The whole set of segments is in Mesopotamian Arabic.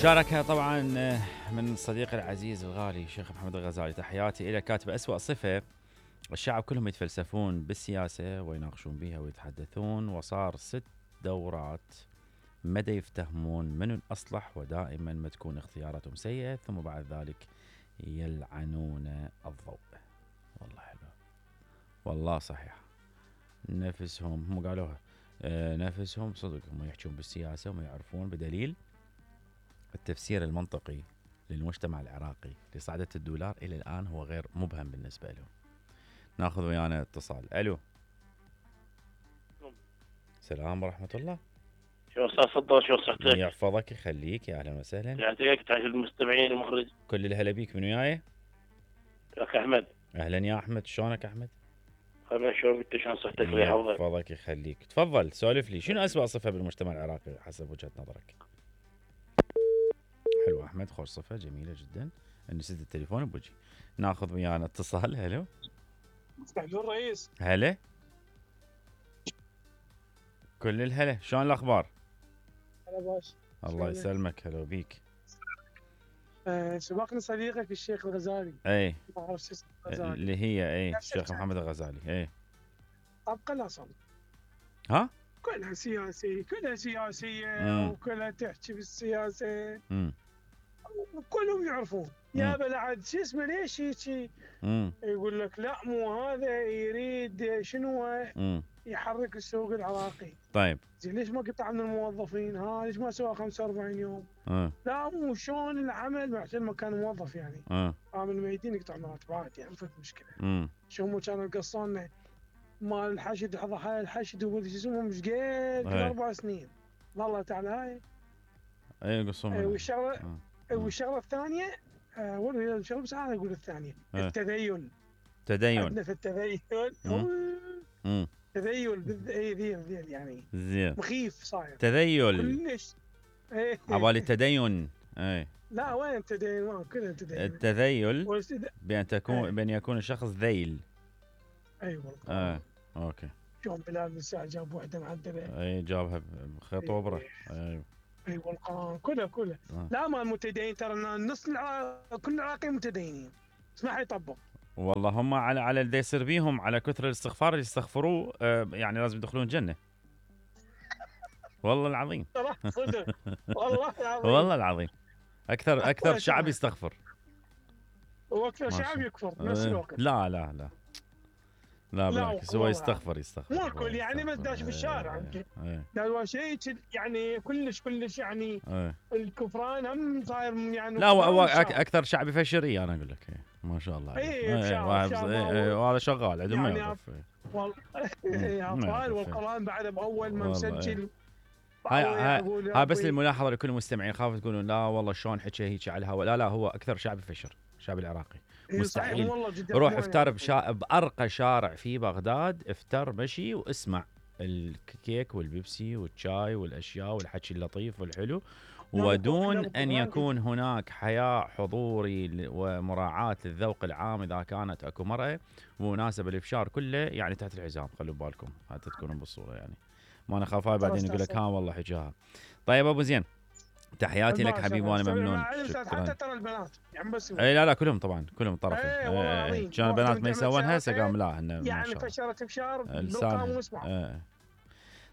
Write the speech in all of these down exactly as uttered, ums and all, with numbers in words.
مشاركة طبعا من صديقي العزيز الغالي الشيخ محمد الغزالي، تحياتي إلى. كاتب أسوأ صفة الشعب كلهم يتفلسفون بالسياسة ويناقشون بها ويتحدثون، وصار ست دورات مدى يفتهمون من الأصلح، ودائما ما تكون اختياراتهم سيئة، ثم بعد ذلك يلعنون الضوء. والله حلو، والله صحيح. نفسهم هم قالوها، آه نفسهم صدق هم يحجون بالسياسة وما يعرفون، بدليل التفسير المنطقي للمجتمع العراقي لصعدة الدولار إلى الآن هو غير مبهم بالنسبة لهم. ناخذ ويانا اتصال. ألو، السلام ورحمة الله. شو أستاذ فضل، شو صحتك؟ يحفظك يخليك، يا أهلا وسهلا. يعطيك تحية المستمعين المخرج. كل الهلا بيك. من وياي؟ أخ أحمد. أهلا يا أحمد، شلونك أحمد؟ خير، شلون أنت، شلون صحتك؟ الله يحفظك. يحفظك يخليك. تفضل سولف لي، شنو أسوأ صفة بالمجتمع العراقي حسب وجهة نظرك؟ حلو أحمد، خوش صفة جميلة جدا. نسيت التليفون بوجهي. ناخذ ويانا اتصال. هلو. مستعجل الرئيس. هلا. كل الهلا، شلون الأخبار؟ هلا باش. الله يسلمك، هلا بيك. آه سبقني صديقك الشيخ الغزالي. اي ما اعرف شو اسمه الغزالي. اللي هي اي الشيخ محمد الغزالي. اي طبقا الاصل. ها؟ كلها سياسية، كلها سياسية مم. وكلها تحكي بالسياسة. امم وكلهم يعرفون. يا بلعد شو اسمه ليش هيك؟ يقول لك لا مو هذا يريد شنو امم يحرك السوق العراقي. طيب زين ليش ما قطع من الموظفين؟ ها ليش ما سوى خمسة وأربعين يوم؟ اه لا مو شلون العمل عشان ما كان موظف يعني. اه عامل الميتين يقطع مرتبات يعني، فك مشكله. امم شو هم كانوا يقصون مال الحشد، ضحايا الحشد وما ادري شو اسمهم، مش قد كل اربع سنين. والله تعالى هاي اي يقصون. اي والشغله والشغله الثانيه آه ولا الشغله بس انا اقول الثانيه أه. التدين. تدين عندنا في التدين امم تذيل بالذ... اي ذيل ذيل يعني زين مخيف صاير تذيل كلش. عبالي التدين. اي لا وين التدين؟ ما كلها تدين. التذيل والسد... بأن تكون أي. بأن يكون الشخص ذيل. اي والله. اه اوكي. شلون بلال بن سعد جاب وحده معدله. اي جابها بخيط وبره. اي اي والقران كله كله. آه. لا ما المتدين ترى نص العراق كل العراقيين متدينين. اسمح يطبق. والله هم على على اللي يصير بيهم على كثر الاستغفار اللي يستغفروه آه يعني لازم يدخلون الجنه. والله العظيم. صدق. والله العظيم. والله العظيم. اكثر اكثر شعب يستغفر. واكثر شعب يكفر بنفس الوقت. لا لا لا لا بالعكس هو يستغفر يستغفر مو الكل يعني، بس داش بالشارع يمكن. لا شيء يعني كلش كلش يعني ايه. الكفران هم صاير يعني. لا هو اكثر شعب يفشر. انا اقول لك ما شاء الله. اي وهذا شغال عندهم يعني ما والله اطفال والقران بعد باول ما مسجل. هاي هاي ها بس للملاحظه لكل المستمعين، خافوا تقولون لا والله شلون حكى هيك على الهواء. لا لا هو اكثر شعب يفشر الشعب العراقي. مستحيل روح افتر بشا... بأرقى شارع في بغداد، افتر مشي واسمع الكيك والبيبسي والشاي والاشياء والحكي اللطيف والحلو، ودون ان يكون هناك حياء حضوري ومراعاة للذوق العام اذا كانت اكو مرأة ومناسبة الافشار كله يعني تحت الحزام. خلوا بالكم حتى تكونون بالصورة يعني. ما انا خاف بعدين يقول لك ها والله حكاها. طيب ابو زين تحياتي لك حبيبي وانا ممنون. حتى ترى البنات يعني بس اي لا لا كلهم طبعا كلهم طرفين. اي كان البنات ما يسوونها هسه قام لا يعني فشرت بشار بالقام واسمع.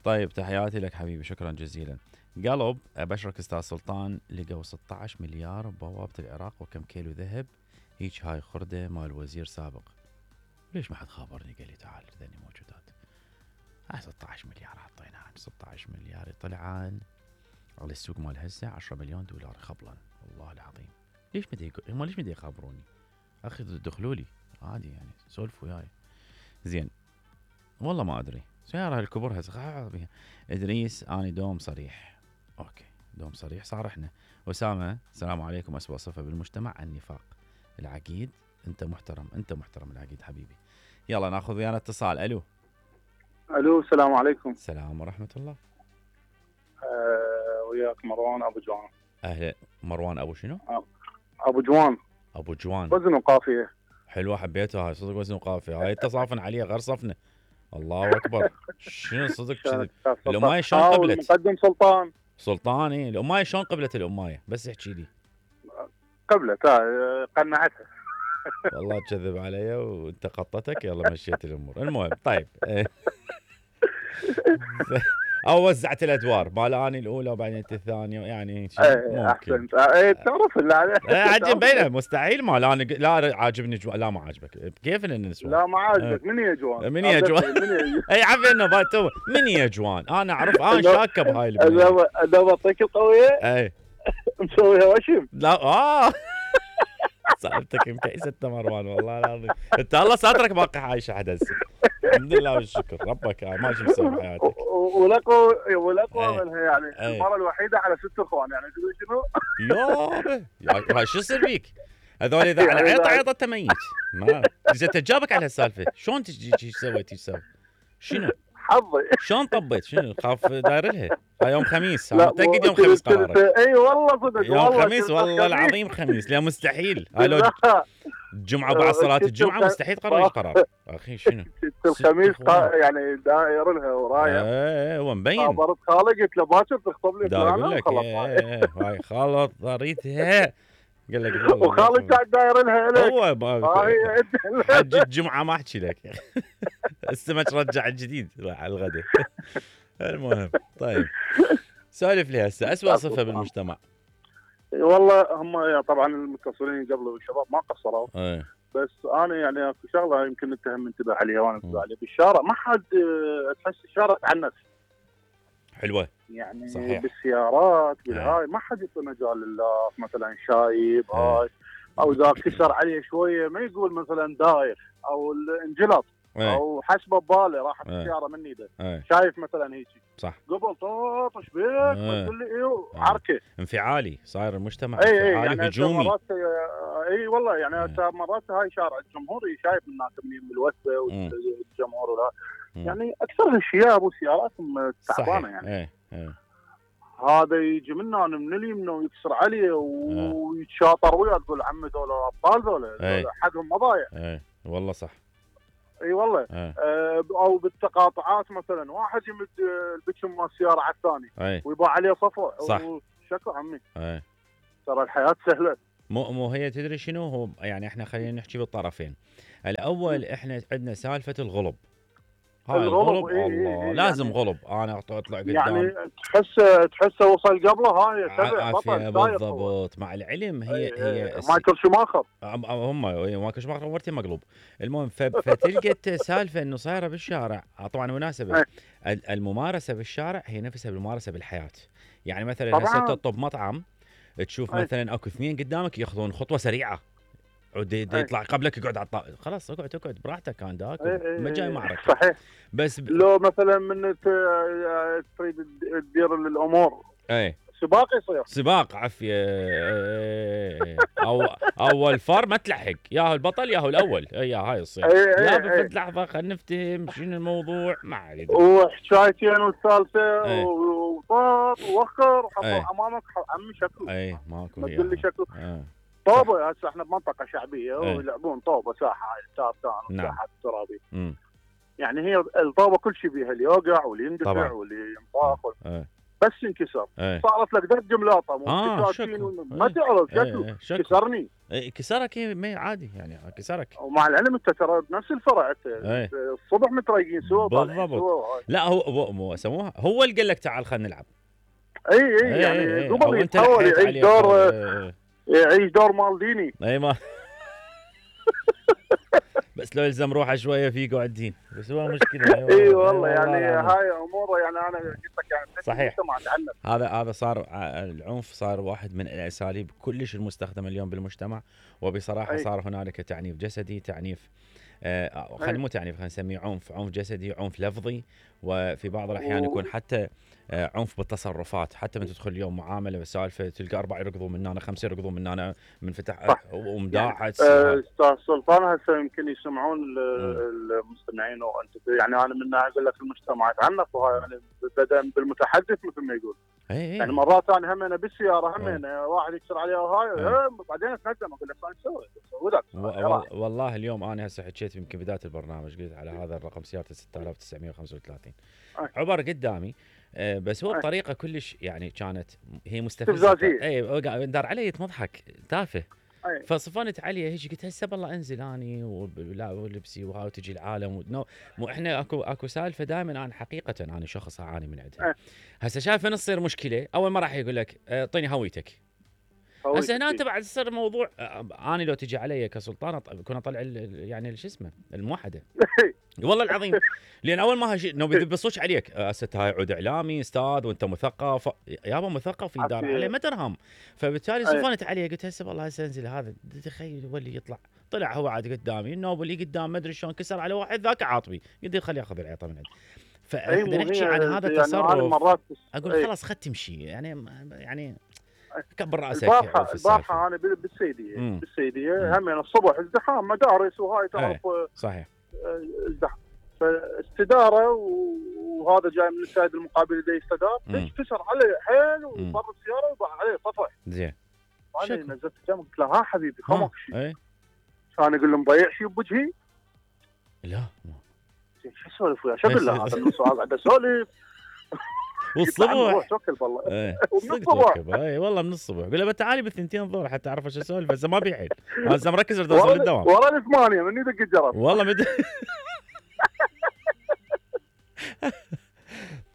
طيب تحياتي لك حبيبي، شكرا جزيلا. قلب ابشرك استاذ سلطان، لقوا ستة عشر مليار ببوابه العراق وكم كيلو ذهب. هيك هاي خرده مال وزير سابق. ليش ما حد خابرني قال لي تعال ذني موجودات. هاي ستة عشر مليار حطيناها. ستة عشر مليار يطلع عن على السوق مال هسه عشرة مليون دولار خبلا. والله العظيم ليش مدي هم ليش مدي يخابروني اخي؟ دخلوا لي عادي يعني سولفوا وياي. زين والله ما ادري سياره الكبر هسه بيها. ادريس اني دوم صريح. اوكي دوم صريح صار. احنا اسامه السلام عليكم. اسوأ صفه بالمجتمع النفاق. العقيد انت محترم، انت محترم العقيد حبيبي. يلا ناخذ ويانا اتصال. الو الو السلام عليكم. السلام ورحمه الله. أه وياك مروان ابو جوان. اهلا مروان ابو شنو؟ ابو جوان. ابو جوان وزن وقافيه حلوه حبيتها هاي صدق. وزن وقافيه هاي تصافن عليها غير صفنه. الله اكبر. شنو صدق كذي لو ما شلون قبلت. مقدم سلطان سلطاني الامايه شلون قبلت الامايه بس احكي لي. قبلت آه، قنعتها. والله تكذب علي وانت قطتك يلا مشيت الامور. المهم طيب او وزعت الادوار مال اني الاولى وبعدين انت الثانيه يعني ايه احسنت. ايه تعرف لا عجب بينه مستحيل مال انا لا عاجبني جو... لا ما عاجبك كيف ان النسوان لا ما عاجبك من يا جوان من يا جوان اي عفوا انه باتو من يا جوان انا اعرف انا شاكه بهاي البنيه انا انا بعطيك القويه اي مسويها وشم لا اه صاحبتك مكيسة مروان والله العظيم انت الله ساترك باقي عايشه حد هسه الحمد لله والشكر ربك ما شو مسوي بحياتك. ولقوا ولقوا منها يعني المره الوحيده على ست اخوان يعني تقول شنو؟ يابا شو يصير بيك؟ هذول اذا على عيطه عيطه تميت ما اذا تجابك على هالسالفه شلون تجي ايش سويت ايش سويت؟ شنو؟ حظي شلون طبيت شنو خاف داير لها هاي يوم خميس انا متاكد يوم خميس قرارك. اي والله صدق يوم خميس والله العظيم خميس لا مستحيل هاي لو الجمعه بعد صلاه الجمعه مستحيل تقرر قرار اخي شنو الخميس يعني داير لها ورايا ايه هو مبين خبرت خالي قلت له باكر تخطب لي فلانه اقول لك ايه هاي خلط ضريتها قال لك وخالد قاعد داير لها لك هو حج الجمعه ما احكي لك السمك رجع الجديد على الغداء. المهم طيب سالف لي هسه اسوء صفه بالمجتمع. والله هم طبعا المتصلين قبل الشباب ما قصروا ايه. بس انا يعني اكو شغله يمكن انت هم انتبه عليها وانا انتبه عليها بالشارع ما حد تحس الشارع تعنف حلوه يعني صحيح. بالسيارات بالهاي ما حد يعطي مجال لله مثلا شايب هاي او اذا كسر عليه شويه ما يقول مثلا داير او انجلط او حسبه بباله راحت السياره مني ده شايف مثلا هيك صح قبل طاط ايش بيك تقول لي ايه عركه انفعالي صاير المجتمع اي انفعالي يعني هجومي مرات اي والله يعني هسه مرات هاي شارع الجمهوري شايف الناس من الوثبه والجمهور ولا يعني اكثرها شياب وسيارات تعبانه يعني اي اي هذا يجي منا من اليمين ويكسر عليه ويتشاطر وياه تقول عمي ذولا ابطال ذولا حقهم مضايع اي والله صح اي والله آه. او بالتقاطعات مثلا واحد يمد البكم مال السياره على الثاني ويباع عليه صفوه صح شكو عمي اي ترى الحياه سهله مو مو هي تدري شنو هو يعني احنا خلينا نحكي بالطرفين. الاول احنا عندنا سالفه الغلب هاي الغلب إيه الله إيه لازم يعني غلب انا اطلع قدام يعني تحس تحسه وصل قبله هاي تبع بطل بالضبط مع العلم هي إيه هي إيه مايكل شوماخر هم مايكل شوماخر مرتين مقلوب. المهم فتلقى سالفه انه صايره بالشارع طبعا مناسبه الممارسه بالشارع هي نفسها بالممارسه بالحياه. يعني مثلا هسه تطب مطعم تشوف مثلا اكو اثنين قدامك ياخذون خطوه سريعه يطلع قبلك يقعد على الطاوله خلاص اقعد اقعد براحتك كان داك ما جاي معركه صحيح بس ب... لو مثلا من تريد تدير الامور اي سباق يصير سباق عفيه او اول فار ما تلحق ياهو البطل ياهو الاول يا هاي يصير لا بفد لحظه خلينا نفتهم شنو الموضوع ما ادري وحكايتين والثالثه وطاط ووخر امامك عمي شكله اي ماكو ما تقول لي شكله طوبه هسه احنا بمنطقه شعبيه ويلعبون طوبه ساحه هاي تارتان وساحه ترابي يعني هي الطوبه كل شيء بيها اللي يوقع واللي يندفع واللي ينطاق بس انكسر صارت لك دق جملاطه مو آه ما تعرف شكله كسرني اي كسرك ما عادي يعني كسرك ومع العلم انت ترى بنفس الفرع الصبح متريقين سوا بالضبط لا هو مو سموها هو اللي قال لك تعال خلينا نلعب اي اي يعني قبل يتحول يعيش دور يعيش دور مالديني اي ما بس لو يلزم روحه شويه في قاعدين بس هو مشكله اي والله يعني هاي امور يعني انا قلت لك يعني صحيح هذا هذا صار العنف صار واحد من الاساليب كلش المستخدمه اليوم بالمجتمع وبصراحه أي. صار هنالك تعنيف جسدي تعنيف آه خلينا مو تعنيف خلينا نسميه عنف عنف جسدي عنف لفظي وفي بعض الاحيان يكون حتى آه عنف بالتصرفات حتى من تدخل اليوم معامله بسالفه تلقى اربعه يركضون من هنا خمسه يركضون من هنا من فتح ومداعة استاذ آه سلطان هسه يمكن يسمعون المستمعين وانت يعني انا من اقول لك المجتمع يتعنف وهاي يعني بدا بالمتحدث مثل ما يقول أي يعني مرات انا هم انا بالسياره هم أنا واحد يكسر عليها وهاي بعدين اتندم اقول لك ايش سويت؟ سويت والله اليوم انا هسه حكيت يمكن بدايه البرنامج قلت على هذا الرقم سيارته ستة آلاف وتسعمئة وخمسة وثلاثين عبر قدامي آه بس هو بطريقه كلش يعني كانت هي مستفزه. اي دار علي مضحك تافه. فصفنت عليه هيك قلت هسه بالله انزل اني ولا ولبسي وهاي وتجي العالم ونو مو احنا اكو اكو سالفه دائما انا حقيقه انا شخص اعاني من عندها. هسه شايف من تصير مشكله اول ما راح يقول لك اعطيني هويتك. هسه هنا انت بعد تصير موضوع اني لو تجي علي كسلطان كنا طلع يعني شو اسمه الموحده والله العظيم. لان اول ما هاي نو بيبصوش عليك هسه هاي عود اعلامي استاذ وانت مثقف يابا مثقف يدار عليه ما درهم. فبالتالي صفنت عليه قلت هسه والله هسه انزل هذا تخيل ولي يطلع طلع هو عاد قدامي النوب اللي قدام ما ادري شلون كسر على واحد ذاك عاطبي قلت خليه ياخذ العيطه من عندي. فاحنا نحكي عن هذا التصرف اقول خلاص خد تمشي يعني يعني كبر راسك. البارحه البارحه انا بالسيديه مم. بالسيديه هم يعني الصبح ازدحام مدارس وهاي تعرف صحيح ازدحام فاستداره وهذا جاي من السيد المقابل اللي يستدار كسر عليه حيل وفر السياره وباع عليه طفح زين. انا نزلت جنب قلت له ها حبيبي خمك شيء كان يقول له مضيع شيء بوجهي لا شو اسولف وياه شو اقول له هذا السؤال قاعد اسولف والصبح والله ايه من الصبح اي والله من الصبح قول له تعالي بالثنتين الظهر حتى اعرف ايش اسولف هسه ما بيحيل هسه مركز اريد اوصل للدوام ورا الثمانية من يدق الجرس والله مد...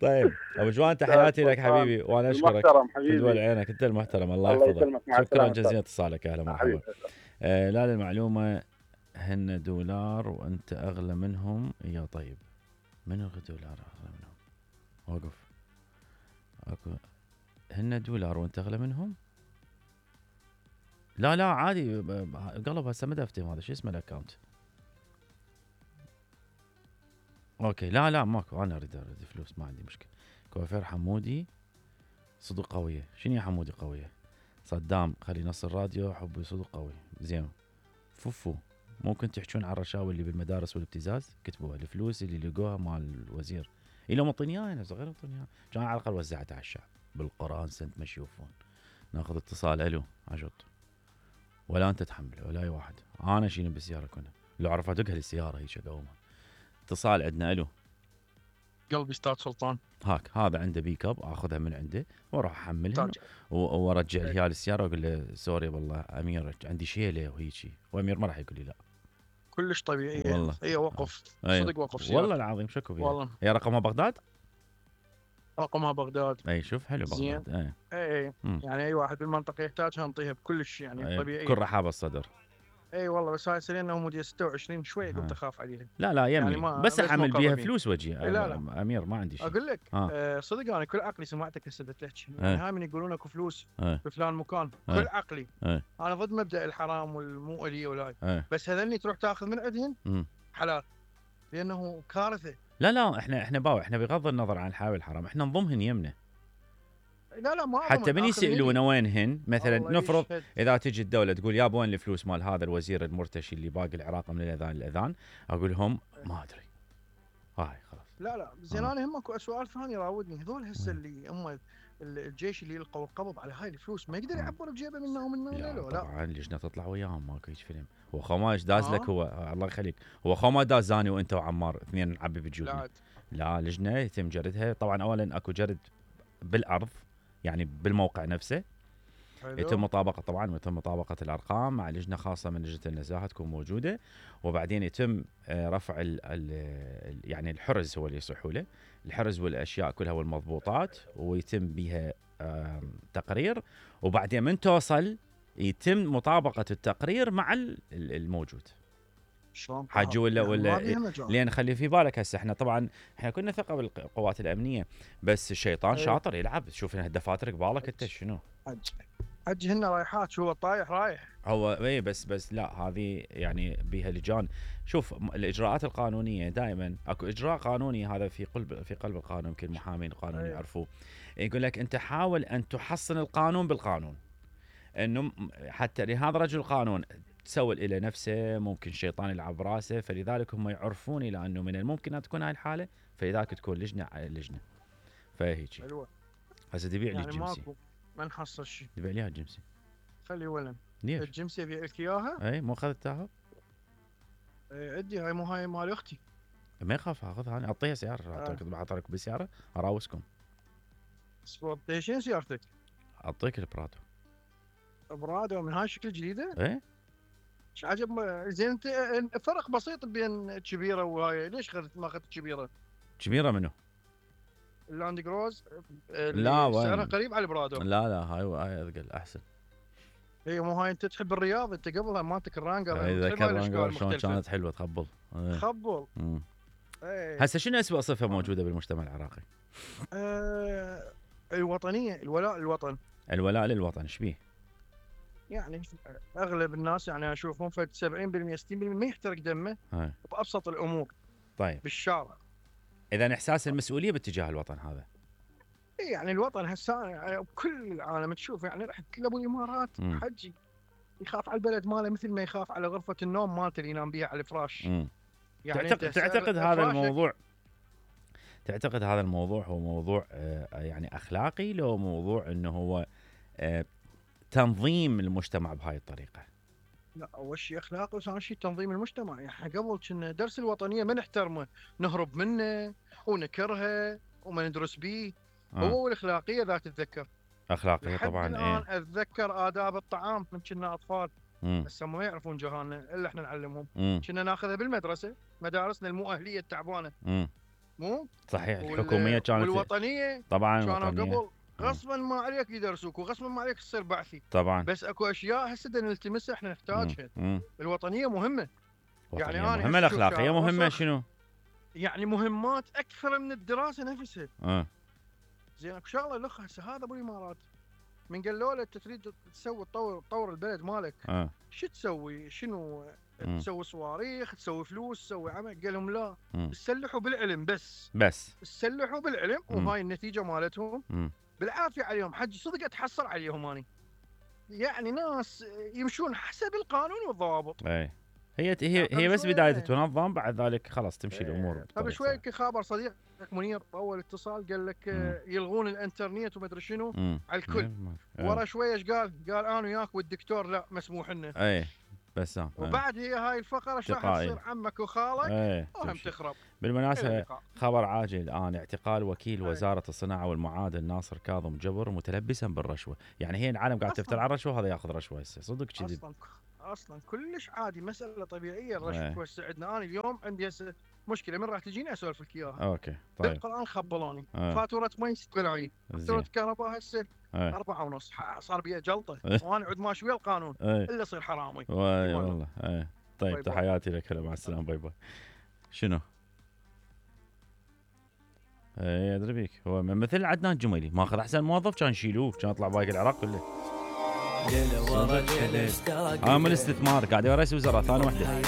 طيب ابو جوان تحياتي لك حبيبي وانا اشكرك محترم حبيبي تدول عينك انت المحترم الله يحفظك شكرا جزيلا اتصالك اهلا مرحبا. آه لا للمعلومه هن دولار وانت اغلى منهم يا طيب من دولار اغلى منهم وقف اكو هن دولار وانت اغلى منهم لا لا عادي قلب هسه ما افتهم هذا شو اسمه الاكونت اوكي لا لا ماكو انا اريد اريد فلوس ما عندي مشكله. كوافير حمودي صدق قويه شنو يا حمودي قويه صدام خلي نص الراديو حبي صدق قوي زين. فوفو ممكن تحجون عن الرشاوي اللي بالمدارس والابتزاز كتبوها الفلوس اللي لقوها مال الوزير إلهم مطيني اياها انا صغير مطيني اياها كان على الاقل وزعتها على الشعب بالقران سنت ما يشوفون. ناخذ اتصال الو عجط ولا انت تحمله ولا اي واحد انا شيني بالسياره كنا لو عرفت ادقها السياره هيك اقومها. اتصال عندنا الو قلبي استاذ سلطان هاك هذا عنده بيك اب اخذها من عنده واروح احملها وارجع لها السياره واقول له سوري والله امير عندي شيله وهيجي وامير ما راح يقول لي لا كلش طبيعيه والله هي وقف أيه. صدق وقف سيارة. والله العظيم شكو فيها والله هي رقمها بغداد رقمها بغداد اي شوف حلو بغداد اي اي يعني اي واحد بالمنطقه يحتاجها نعطيها بكلش يعني أيه. طبيعيه كل رحابه الصدر اي والله بس هاي سنه هم ستة وعشرين شوي قمت اخاف عليها لا لا يمي يعني بس احمل بيها فلوس وجهي لا لا امير ما عندي شيء اقول لك آه صدق انا كل عقلي سمعتك هسه تحكي يعني هاي من يقولون اكو فلوس أيه. بفلان مكان أيه. كل عقلي أيه. انا ضد مبدا الحرام والمو الي ولا أيه. بس هذني تروح تاخذ من عندهم حلال لانه كارثه. لا لا احنا احنا باو احنا بغض النظر عن الحلال والحرام احنا نضمهن يمنا لا لا ما حتى من يسالونه وينهن مثلا نفرض يشهد. اذا تجي الدوله تقول يا وين الفلوس مال هذا الوزير المرتشي اللي باقي العراق من الاذان للاذان اقول لهم ما ادري هاي خلاص لا لا زين انا هم اكو سؤال ثاني راودني هذول هسه اللي هم الجيش اللي يلقوا القبض على هاي الفلوس ما يقدر يعبر بجيبه منه ومنه ولا لا طبعا لجنه تطلع وياهم ماكو هيك فيلم هو خو ايش داز آه. لك هو الله يخليك هو خو ما داز زاني وانت وعمار اثنين نعبي بجيوبنا لا لجنه يتم جردها طبعا اولا اكو جرد بالارض يعني بالموقع نفسه حلو. يتم مطابقه طبعا ويتم مطابقه الارقام مع لجنه خاصه من لجنه النزاهه تكون موجوده وبعدين يتم رفع ال ال يعني الحرز هو اللي يصحوا له الحرز والاشياء كلها والمضبوطات ويتم بها تقرير وبعدين من توصل يتم مطابقه التقرير مع الموجود شلون حاجه ولا ولا لان خلي في بالك هسه احنا طبعا احنا كنا ثقه بالقوات الامنيه بس الشيطان أيه. شاطر يلعب شوف الدفاتر قبالك انت شنو حج هن رايحات شو طايح رايح هو اي بس بس لا هذه يعني بها لجان شوف الاجراءات القانونيه دائما اكو اجراء قانوني هذا في قلب في قلب القانون يمكن المحامين القانون أيه. يعرفوه يقول لك انت حاول ان تحصن القانون بالقانون انه حتى لهذا رجل القانون تسول إلى نفسه ممكن شيطان يلعب براسه فلذلك هم يعرفون إلى أنه من الممكن أن تكون هاي الحالة فلذلك تكون لجنة على لجنة فهيك هسه تبيع لي يعني الجمسي ماكو ما نحصل شيء تبيع لي الجمسي خلي ولن ليش الجمسي ابيع لك اياها اي مو اخذتها اي عندي هاي مو هاي مال اختي ما يخاف اخذها انا اعطيها سياره اعطيك بحط لك بالسياره اراوسكم سبورتيشن سيارتك؟ اعطيك البرادو. برادو من هاي الشكل الجديده؟ ايه ايش عجب. زين انت فرق بسيط بين كبيره وهاي، ليش اخذت ما اخذت كبيره؟ كبيره منو؟ اللاند كروز. لا سعرها قريب على البرادو. لا لا هاي هاي اثقل احسن. اي مو هاي انت تحب الرياض، انت قبلها مالتك الرانجر. اي ذكر الرانجر شلون كانت حلوه تخبل. تخبل. ايه هسه شنو اسوء صفه موجوده بالمجتمع العراقي؟ آه الوطنيه، الولاء للوطن. الولاء للوطن ايش بيه؟ يعني اغلب الناس يعني اشوفهم في سبعين بالمئة ستين بالمئة ما يحترق دمه هاي. بابسط الامور. طيب بالشارع. اذا احساس المسؤوليه باتجاه الوطن هذا. يعني الوطن هسه يعني بكل العالم تشوف يعني رحت لابو الامارات حجي يخاف على البلد ماله مثل ما يخاف على غرفه النوم مالته اللي ينام بيها على الفراش. يعني تعتقد تعتقد هذا الموضوع تعتقد هذا الموضوع هو موضوع يعني اخلاقي لو موضوع انه هو تنظيم المجتمع بهاي الطريقه؟ لا اول شيء اخلاقي وثاني شيء تنظيم المجتمع. يعني احنا قبل كنا درس الوطنيه ما نحترمه، نهرب منه ونكرهه وما ندرس به. آه. هو والاخلاقيه ذات تتذكر اخلاقيه طبعا. الان ايه اتذكر آداب الطعام من كنا اطفال هسه ما يعرفون جيراننا الا احنا نعلمهم. كنا ناخذها بالمدرسه، مدارسنا المو اهليه التعبانه. مم. مو صحيح الحكوميه كانت والوطنيه طبعا كانوا قبل غصبا ما عليك يدرسوك وغصبا ما عليك تصير بعثي طبعا. بس اكو اشياء هسه نلتمسها احنا نحتاجها. مم. الوطنيه مهمه. يعني انا مهمه، الاخلاقيه مهمه شنو؟ يعني مهمات اكثر من الدراسه نفسها. اه زين اكو شغله الاخ هسه هذا ابو الامارات من قالوا له انت تريد تسوي تطور تطور البلد مالك. اه شو تسوي؟ شنو مم. تسوي صواريخ، تسوي فلوس، تسوي عمل؟ قال لهم لا، تسلحوا بالعلم بس بس تسلحوا بالعلم. مم. وهاي النتيجه مالتهم مم. بالعافيه عليهم. حج صدق اتحسر عليهم اني. يعني ناس يمشون حسب القانون والضوابط. اي هي هي هي بس بدايه تنظم، بعد ذلك خلاص تمشي الامور. قبل شوي خابر صديقك منير اول اتصال قال لك مم. يلغون الانترنت وما ادري شنو على الكل. مم. ورا شوي ايش قال؟ قال انا وياك والدكتور لا مسموح لنا. اي بس اه وبعد هي هاي الفقره ايش راح تصير؟ عمك وخالك وهم تخرب. بالمناسبه خبر عاجل الان، اعتقال وكيل وزاره الصناعه والمعادن ناصر كاظم جبر متلبسا بالرشوه. يعني هي العالم قاعد تفتر على الرشوه، هذا ياخذ رشوه هسه صدق كذب. اصلا اصلا كلش عادي، مساله طبيعيه الرشوه توسعدنا. انا اليوم عندي هسه مشكله من راح تجيني اسولف لك اياها. اوكي طيب. بالقران خبلوني آه. فاتوره مي ست ملايين، فاتوره كهرباء هسه آه. أربعة ونص، صار بيها جلطه وانا عد ماشي ويا القانون الا يصير حرامي. واي والله اي طيب باي تحياتي لك. هلا مع السلامه. باي باي. شنو؟ اي ادري بيك، هو مثل عدنان جميلي ماخذ احسن موظف كان يشيلوه، كان يطلع باقي العراق كله. عامل استثمار قاعد يا رئيس وزراء ثاني وحده